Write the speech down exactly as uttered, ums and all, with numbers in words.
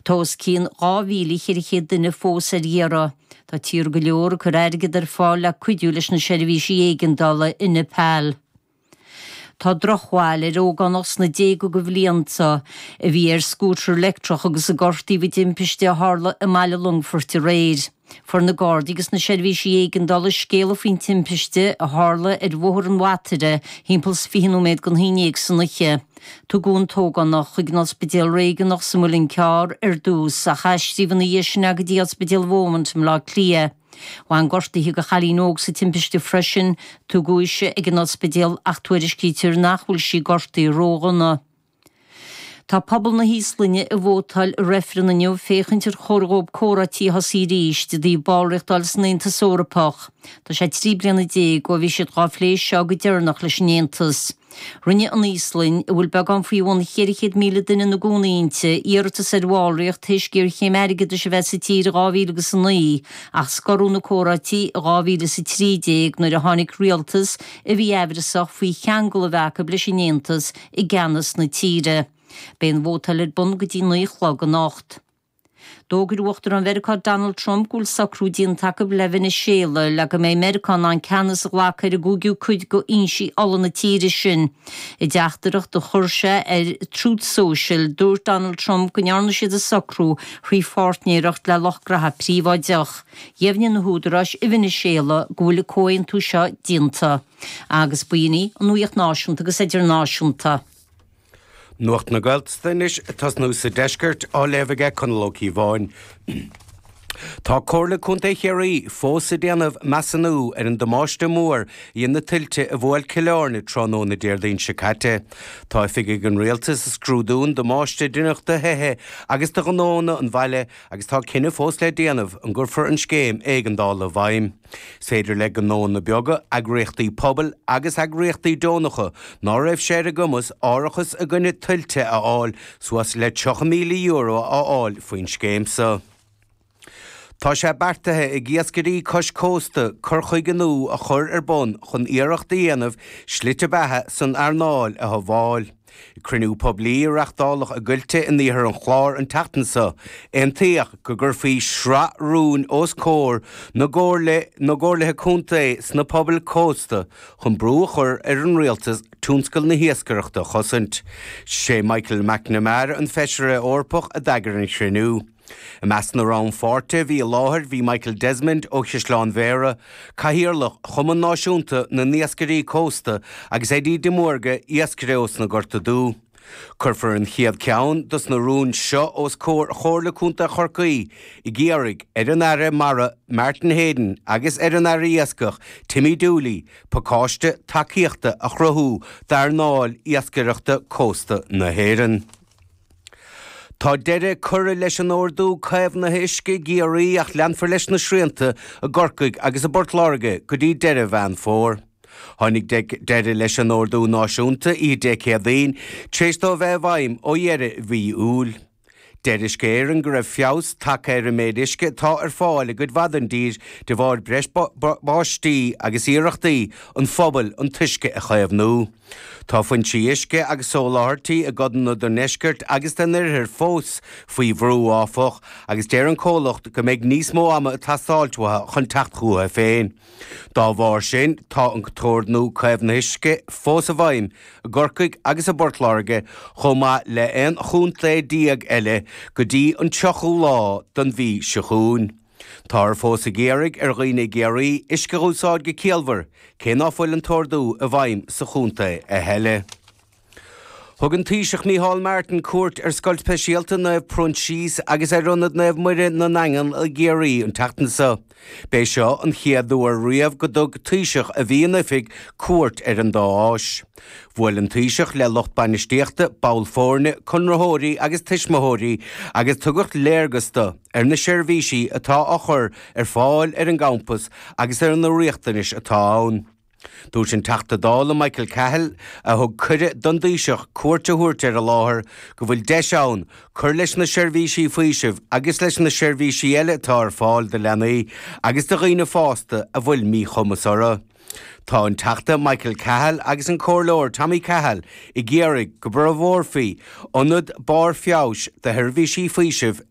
Tá os cionn dhá mhíle ceithre chéad duine fós ar iarraidh. Tá tíortha go leor ag cur airgead ar fáil le cuidiú leis na seirbhísí éigeandála i Nepal. Tá drochbhail ar ógánach sna déaga de bhlianta a bhí ar scútar leictreach agus a gortaíodh i dtimpiste a tharla i mBaile Longfoirt aréir. Fuair na Gardaí agus na seirbhísí éigeandála scéala faoin timpiste a tharla ar Bhóthar an Bhataire thimpeall is fiche nóiméad don haon déag san oíche. Tugadh an t-ógánach chuig an ospidéal réigiúnach sa Mhuileann Cearr ar dtús ach aistríodh ina dhiaidh sin go dtí Ospidéal Beaumont i mBleá Cliath. Bhain gortuithe do chailín óg sa timpiste freisin, tugadh ise ag an ospidéal ach tuairiscítear nach bhfuil sí gortaithe ródhona. Tá pobal na hÍoslainne ag vótáil i reifreann inniu féachaint ar chóir dóibh comhráití a thosaí arís i dtaobh ballraíocht a fháil san Aontas Eorpach. Tá sé trí bliana déag ó bhí siad dhá phlé seo go deireanach leis an Aontas. Rinne an Íoslainn, a bhfuil beagán faoi bhun cheithre chéad míle duine ina gcónaí inti, iarratas ar bhallraíocht tar éis géarchéim airgeadais a bheith sa tír i dhá mhíle agus a naoi, ach scoradh na comhráití i dhá mhíle is a trí déag nuair a tháinig rialtas a bhí aimhreasach faoi cheangal a bheith acu leis an Aontas i gceannas na tíre. Beidh an vótáil ar bun go dtí naoi a chlog anocht. D'fhógair Uachtarán Mheiriceá Donald Trump go bhfuil socrú déanta acu le Veiniséala le go mbeidh Meiriceá in ann ceannas a ghlacadh ar an gcúigiú cuid d'fhoinsí ola na tíre sin. I dteachtaireacht a chuir sé ar Truth Social, dúirt Donald Trump go ndearna siad an socrú thrí pháirtnéireacht le lucht graithe príobháideach. Dheimhnigh na húdaráis i Veiniséala go bhfuil an comhaontú seo déanta. Agus b'in í an nuacht náisiúnta agus idirnáisiúnta. Nuacht na Gaeltachta anois ag tosnú sa deisceart á léamh aige Conall Ó Cíobháin. Tá Comhairle Contae Chiarraí fós ag déanamh measúnú ar an damáiste mór a dhein na tuilte a bhuail Cill Airne tráthnóna Déardaoin seo caite. Tá oifigigh an rialtais ag scrúdú an damáiste a deineadh do thithe agus do ghnónna an bhaile agus tá cinneadh fós le déanamh an gcuirfear an scéim éigeandála i bhfeidhm. Is féidir le gnónna beaga, eagraíochtaí pobail agus eagraíochtaí deonacha ná raibh sé ar a gcumas árachas i gcoinne tuilte a fháil suas le tríocha míle euro a fháil faoin scéim seo. Tá sé beartaithe ag iascairí cois cósta cur chuige nua a chur ar bun chun iarracht a dhéanamh slite beatha san earnáil a shábháil. I gcruinniú poiblí a reáchtáladh i gCoillte in iarthar an Chláir an tseachtain seo, aontaíodh go gcuirfí sraith rún os comhair na gcomhairlithe contae sna pobail cósta chun brú a chur ar an rialtas tionscal na hiascaireachta a chosaint. Sé Michael McNamara an Feisire Eorpach a d'eagraigh an cruinniú. I measc na rannpháirtithe a bhí i láthair bhí Michael Desmond ó Chaisleán Bhéarra, Cathaoirleach Chumann Náisiúnta na nIascairí Cósta agus Eddie de Mórdha, iascaire ós na Gorta Dubha. Cuirfear an chéad cheann dos na rúin seo os comhair Chomhairle Contae Chorcaí ag iarraidh ar an Aire Mara Martin Heydon agus ar an Aire Iascaigh Timmy Dooley pacáiste tacaíochta a chruthú d'earnáil iascaireachta cósta na hÉireann. Tá deireadh curtha leis an ordú caomhnaithe uisce i gCiarraí ach leanfar leis na srianta i gCorcaigh agus i bPort Láirge go dtí deireadh Mheán Fómhair. Tháinig deireadh leis an ordú náisiúnta oíche Dé Céadaoin tar éis dó a bheith i bhfeidhm ó dheireadh mhí Iúil. Deir Uisce Éireann go raibh feabhas tagtha ar an méid uisce atá ar fáil i gcuid mhaith den dtír de bharr breis báistí agus iarrachtaí an phobail an t-uisce a chaomhnú. Tá foinsí uisce agus soláthairtí i gcodanna den ndeisceart agus den oirthear fós faoi bhrú, áfach, agus deir an comhlacht go mbeidh níos mó ama ag teastáilt uathu chun teacht chucu féin. Dá bharr sin, tá an t-ordú caomhnaithe uisce fós i bhfeidhm i gCorcaigh agus i bPort Láirge chomh maith le aon chontae déag eile go dtí an tríochú lá den mhí seo chugainn. Táthar fós ag iarraidh ar dhaoine i gCiarraí uisce a úsáid go ciallmhar, cé ná fuil an t-ordú i bhfeidhm sa chontae a thuilleadh. Thug an Taoiseach Micheál Martin cuairt ar Scoil Speisialta Naomh Proinsias agus ar Ionad Naomh Muire na nAingeal i gCiarraí an tseachtain seo. B'é seo an chéad uair riamh go dtug Taoiseach a bhí in oifig cuairt ar an dá áis. Bhuail an Taoiseach le lucht bainistíochta, ball foirne, conraitheoirí agus tuismitheoirí agus tugadh léargas dó ar na seirbhísí atá á chur ar fáil ar an gcampas agus ar na riachtanais atá ann. Dúirt an Teachta Dála Michael Cahill, a thug cuireadh don Taoiseach cuairt a thabhairt ar an láthair, go bhfuil deis ann cur leis na seirbhísí faoisimh agus leis na seirbhísí eile atá ar fáil do leanaí agus do dhaoine fásta a bhfuil míchumas orthu. Tá an Teachta Michael Cahill agus an Comhairleoir Tommy Cahill ag iarraidh go bhforbrófaí ionad barr feabhais do sheirbhísí faoisimh